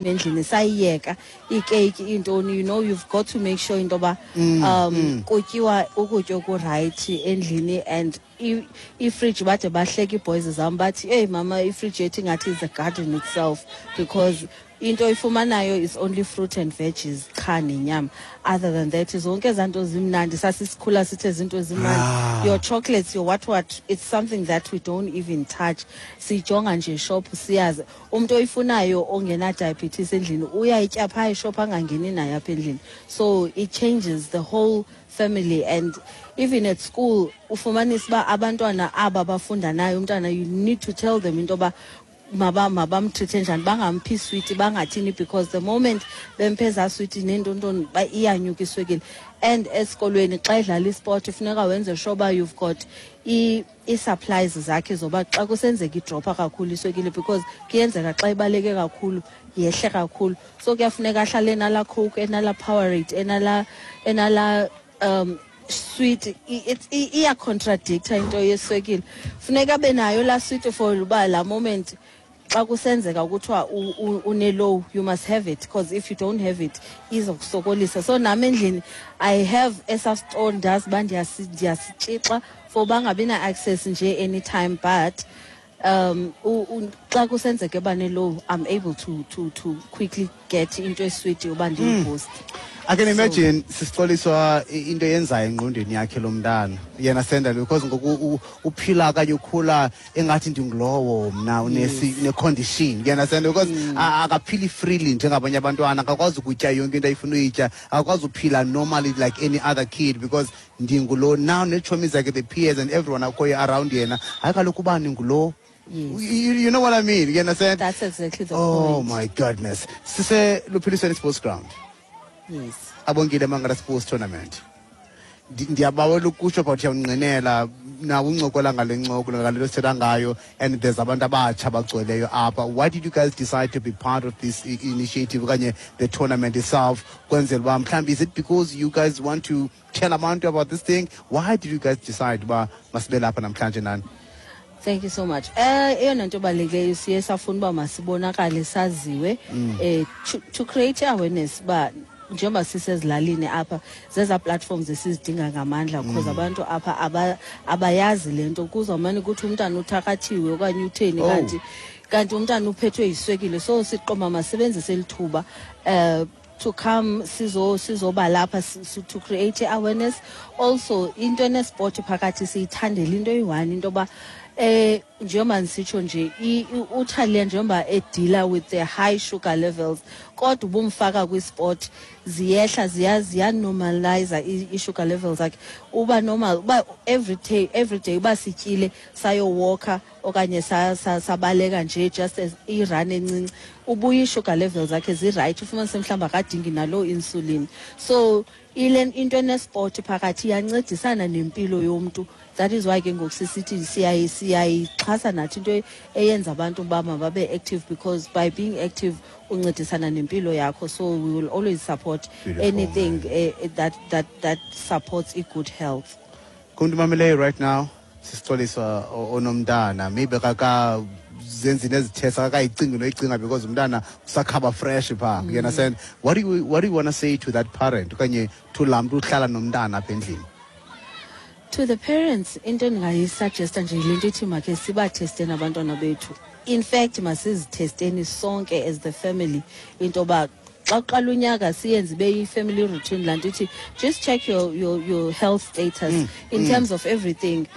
Endlini sayiyeka ikeyiki, iintoni. You've got to make sure into yoba kutyiwa ukutya oku-right endlini. And ifriji, bade bahleka ii-boys zam, bathi, "Eyi mama, ifriji yethu ingathi is a garden itself," because into oyifumanayo is only fruit and veggies qha nenyama. Other than that, zonke ezaa nto zimnandi sasisikhula sithe zinto ezimnandi, your chocolates, your what what, it's something that we don't even touch. Siyijonga nje shop, siyazi umntu oyifunayo ongena-diabetes endlini uyayitya phaa e-shop, angangeni nayo apha endlini. So it changes the whole family. And even at school, ufumanisa uba abantwana aba bafunda nayo umntana, you need to tell them into yoba mabam-treat-e njani, bangamphi iswiti, bangathini, because the moment bemphe ezaa switi neentontoni, iyanyuka iswekile. And esikolweni xa edlala isport, funeka wenze sure uba you've got ii-supplies zakhe zoba xa kusenzeka i-drop-a kakhulu iswekile, because kuyenzeka xa ibaleke kakhulu yehle kakhulu. So kuyafuneka ahlale enalaa Coke, enalaa Powerade, enalaa sweet. Iya-contradict-a into yeswekile. Funeka abe nayo laa sweet for uba laa moment xa kusenzeka kuthiwa une-low, you must have it, because if you don't have it, izokusokolisa. So nam endlini I have esa store, ndazi uba ndiyasitshixa for bangabi na-access nje anytime, but xa kusenzeka eba ne-low, I'm able to quickly get into eswiti yoba ndiyi-boost. I can imagine, Sis Xoliswa, into eyenzayo engqondweni yakhe lo mntana yena senda, because ngoku uphila okanye ukhula engathi ndingulowo mna une-condition, you understand? Because akaphili freely njengabanye abantwana, akakwazi ukutya yonke into ayifuna uyitya, akakwazi uphila normally like any other kid, because ndingulo now. Neetshomi zakhe, the peers and everyone akhoyo around yena, hayi kaloku ubani ngulo. You know what I mean? You understand? That's exactly the Oh point. my goodness. Sise Luphilisweni Sports Ground. Yes. Abongile Mangala Sports Tournament. Ndiyabawela ukusho, but uyawungqinela nawe uncokola ngale ncoko, ngale nto sithetha ngayo, and there's abantu abatsha abagcweleyo apha. Why did you guys decide to be part of this initiative okanye the tournament itself? Kwenzela uba mhlawumbi, is it because you guys want to tell abantu about this thing? Why did you guys decide uba masibe lapha namhlanje nani? Thank you so much. Eyona nto balulekileyo, siye safuna uba masibonakale, saziwe, to create awareness uba njengoba sisezilalini apha, zeza platforms esizidinga ngamandla, because abantu apha abayazi le nto. Kuzawumane kuthi umntana uthakathiwe okanye utheni, kanti umntana uphethwe yiswekile. So siqoma masebenzise lithuba to come sizoba lapha to create awareness. Also into ene-sport phakathi siyithandela into eyi-one, into yoba njengoba ndisitsho nje, uThalia njengoba e-deal-a with the high sugar levels, kodwa ubumfaka kwi-sport, ziyehla, ziya-normalize i-sugar levels zakhe, uba normal. Uba every day uba sityile, sayo-walk-a okanye sabaleka nje, just as i-run encinci, ubuya i-sugar levels zakhe zi-right, ufumanise mhlawumbi akadingi naloo insulin. So ile into ene-sport phakathi iyancedisana nempilo yomntu. That is why ke ngoku sisithi siyayixhasa nathi into eyenza abantu uba mababe active, because by being active uncedisana nempilo yakho. So we will always support Beautiful, anything man. that supports a good health. Kumntu mameleyo right now, Sis Xoliswa, onomntana, maybe kaka zenzi nezi-test, akakayicingi noyicinga because umntana usakhaba fresh phaa, you understand? What do you want to say to that parent okanye to laa mntu uhlala nomntana apha endlini? To the parents, into endingayi-suggest-a nje yile nto ithi makhe siba-test-eni abantwana bethu. In fact, masizi-test-eni sonke as the family, into yoba xa kuqala unyaka siyenze ibe yi-family routine laa nto ithi just check your health status in terms of everything,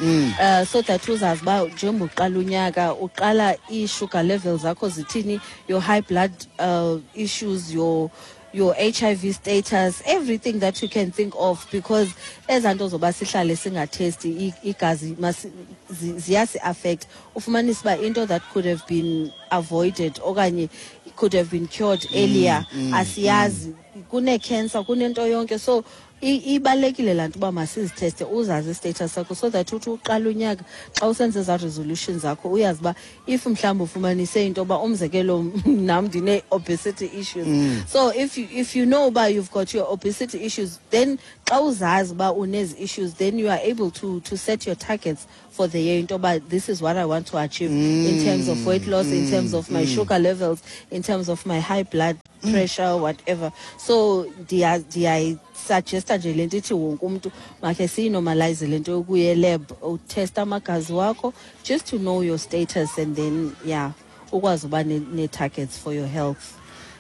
so that uzazi uba njengoba uqala unyaka, uqala ii-sugar levels zakho zithini, your high blood issues, your HIV status, everything that you can think of, because ezaa nto zoba sihlale singa-test-i igazi ziyasi-affect. Ufumanise uba into that could have been avoided okanye could have been cured earlier, asiyazi. Kune-cancer, kunento yonke. So Ibalulekile laa nto uba masizitheste, uzazi istatus sakho, so that uthi uqala unyaka xa usenza ezaa resolution zakho uyazi uba if mhlawumbi ufumanise into yoba, umzekelo, nam ndine-obesity issues. So if you know uba you've got your obesity issues, then xa uzazi uba unezi issues, then you are able to set your targets for the year, into yoba this is what I want to achieve in terms of weight loss, in terms of my sugar levels, in terms of my high blood pressure, whatever. So ndiyayisuggesta nje le nto ithi wonke umntu makhe siyinormalize le nto yokuya elab, utesta amagazi wakho just to know your status, and then, yeah, ukwazi uba nee-targets for your health.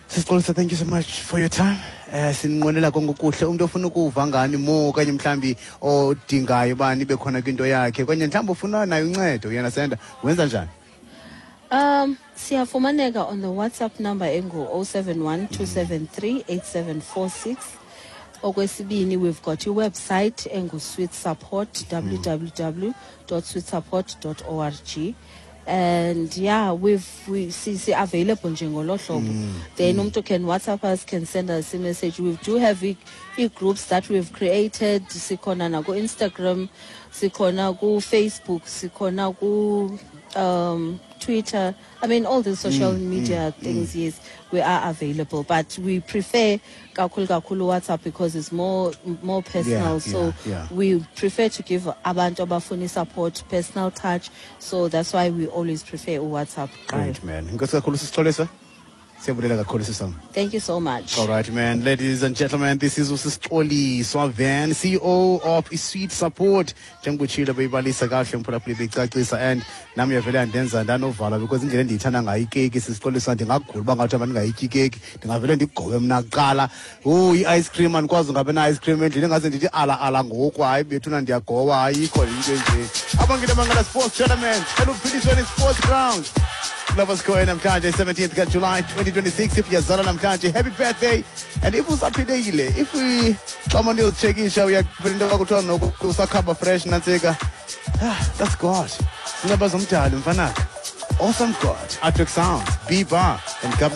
Sis Xoliswa, thank you so much for your time. Sinqwenela konke okuhle. Umuntu ofuna ukuva ngani more, okanye mhlambi odingayo uba nibe khona kwinto yakhe, okanye mhlawumbi ufuna nayo uncedo, uyandastanda, wenza njani? Siyafumaneka on the WhatsApp number engu-071 273 8746. Okwesibini, we've got iwebsite engu-Sweet Support, www.sweetsupport.org. And yeah, we've we see available nje ngolo hlobo. Then umuntu can WhatsApp us, can send us a message. We do have i groups that we've created. Sikhona na ku Instagram, sikhona ku Facebook, sikhona ku Twitter. I mean, all the social media things, yes, we are available, but we prefer kakhulu kakhulu WhatsApp because it's more personal. So we prefer to give abantu abafuna support personal touch. So that's why we always prefer WhatsApp. Great, man. Enkosi kakhulu, Sis Xoliswa. Siyabulela kakhulu, sisam. Thank you so much. All right, man. Ladies and gentlemen, this is uSis Xoliswa Van, CEO of Sweet Support. Njengobutshilo, beyibalisa kahle umphulaphuli, beyicacisa, and nami yavele yandenza ndanovala because indlela endiyithanda ngayo ikeki, Sis Xoliswa, ndingagula uba ngathi abantu ndingayityi ikeki, ndingavele ndigobe mna kuqala. Oh, i-ice cream, andikwazi ungabe na-ice cream endlini, engaze ndithi ala ala ngoku, hayi bethuna, ndiyagowa, ayikho into enje. Abangene Mangala Sports Tournament, eluphilisweni Sports Ground. Lovers Square namhlanje, 17th kaJuly 2026. If uyazalwa namhlanje, happy birthday, and if usaphilekile, if we xa umuntu uyozitshekisha uyaphela into kwakuthiwa noko usakhamba fresh, nantsika. Ah, that's God, sinceba zomdali mfanaka, awesome God, Atrix Sounds, B Bar and Governor.